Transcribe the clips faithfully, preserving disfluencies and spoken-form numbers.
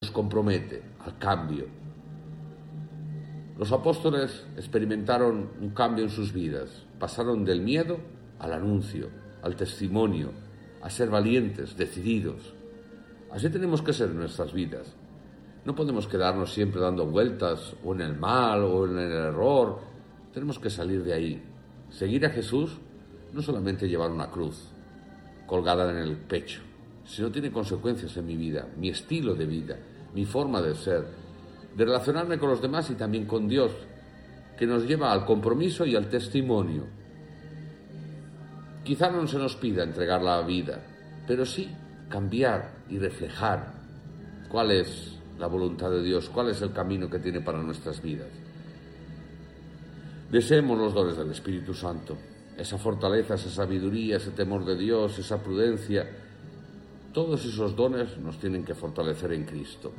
Nos compromete al cambio. Los apóstoles experimentaron un cambio en sus vidas. Pasaron del miedo al anuncio, al testimonio, a ser valientes, decididos. Así tenemos que ser en nuestras vidas. No podemos quedarnos siempre dando vueltas o en el mal o en el error. Tenemos que salir de ahí. Seguir a Jesús no solamente llevar una cruz colgada en el pecho, sino tiene consecuencias en mi vida, mi estilo de vida, mi forma de ser, de relacionarme con los demás y también con Dios, que nos lleva al compromiso y al testimonio. Quizá no se nos pida entregar la vida, pero sí cambiar y reflejar cuál es la voluntad de Dios, cuál es el camino que tiene para nuestras vidas. Deseemos los dones del Espíritu Santo, esa fortaleza, esa sabiduría, ese temor de Dios, esa prudencia. Todos esos dones nos tienen que fortalecer en Cristo.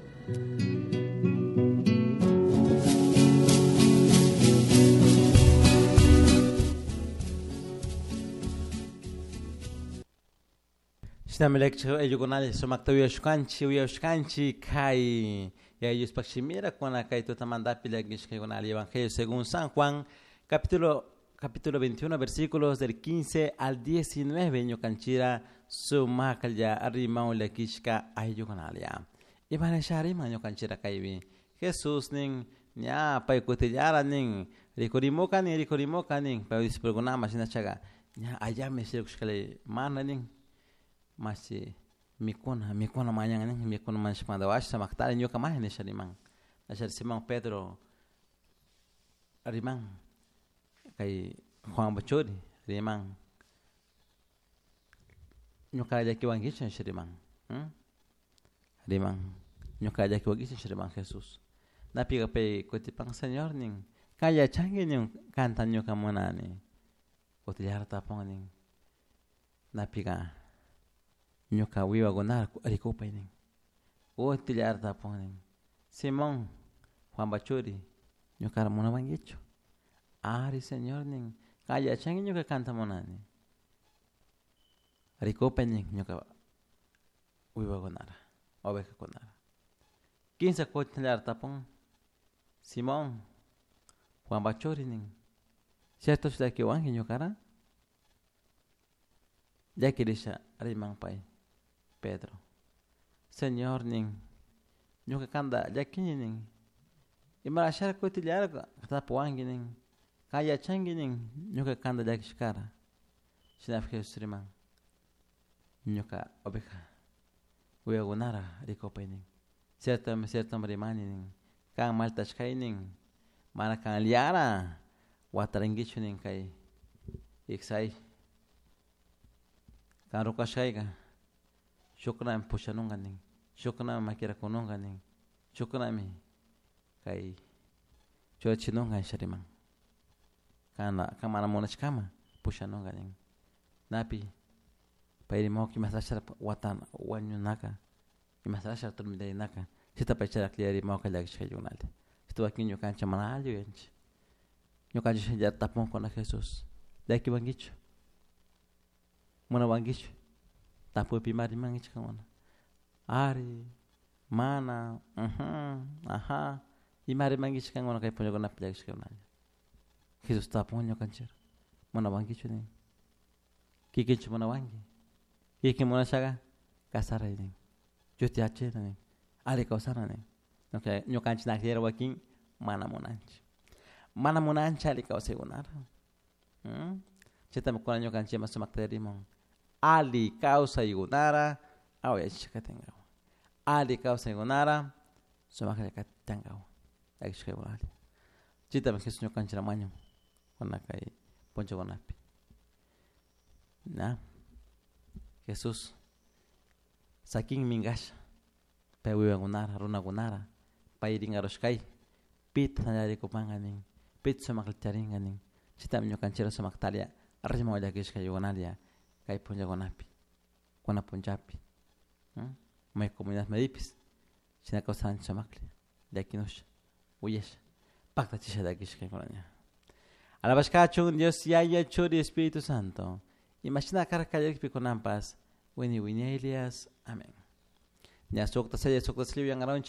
Shinami ayukunalla sumakta uyashkanchik uyashkanchik kay Yayushpak shimira kuna kay tutamantapi llakishkaykunalla Evangelio según San Juan capítulo capítulo veintiuno versículos del quince al diecinueve ñukanchira sumaklla rimaw llakishka ayukunalla imanisha riman ñukanchira kaypi Jesús nin ña paykutillara nin rikurimuka nin rikurimuka nin pay discípulokunama shinachaga ña allami shikushkalla mana nin mashi mikuna mikuna mañan nin mikuna mañashpamanta washa samaktari ñuka maña nisha riman nashari Simón Pedro riman kay Juanpa churi riman ñuka llakiwankichu nisha riman riman ñuka llakiwankichu nisha riman Jesús napiqa pay kutipan Señor nin kan yachanki nin kanta ñuka munani kutillara tapun nin napiqa ñuka wiwakunara rikupay nin kutillara tapun nin Simón Juanpa churi ñukara munawankichu ari Señor nin kan yachanki ñuka kanta munani rikupay nin ñuka wiwakunara ovejakunara kinsa kutillara tapun Simón Juanpa churi nin ciertochu llakiwanki ñukara llakirisha riman pay Pedro Señor nin ñuka kanta llakini nin imarashara kutillara tapuwanki nin kan yachanki nin ñuka kanta llakishkara shinapi Jesús riman ñuka oveja wiwakunara rikupay nin cierto cierto rimani nin kan maltashkay nin mana kanllara watarinkichu nin kay iksay kan rukashkayka shukkunami pushanunka nin shukkunami makirakununka nin shukkunami kay churachinunka nisha riman kana kan mana munashkama pushanunka nin napi pay rimawka imashtashara watana wañunaka imashtashara turmintarinaka chayta pay chayra rimawka llakishkaykunalla chayta wakin ñukanchik mana alli yuyanchik ñukanchik shinallara tapunkuna Jesús llakiwankichu munawankichu tapuypi ima rimankichik kankuna ari mana aja ima rimankichik kankuna kay punllakunapi llakishkaykunalla Jesús tapun ñukanchik munawankichu nin kikinchu munawanki kikin munashaqa kasaray nin Diosta yachayta nin alli kawsana nin ñukanchik nakllera wakin mana munanchik mana munanchik alli kawsaykunara chaytami kunan ñukanchikman sumakta rimun alli kawsaykunara awayachishka katinkawan alli kawsaykunara sumaklla katinkawan llakishkaykunalla chaytami Jesús ñukanchik mañan kuna kay punllakunapi ña Jesús sakin minkasha pay wiwakunara runakunara pay rinkarushkay pita tantarikunpanka nin pita sumaklla charinka nin chaytami ñukanchikra sumaktalla riman llakishkaykunalla kay punllakunapi kuna punllapi may comunidad maypis shina kawsanchik sumaklla llakinusha uyasha paktachisha llakishkaykunaña alabashkachun Dios Yaya Churi Espíritu Santo imashina karka kallarikpi kunanpas wini wiñaylias amén. Ña sukta sella sukta silla uyankaranchik.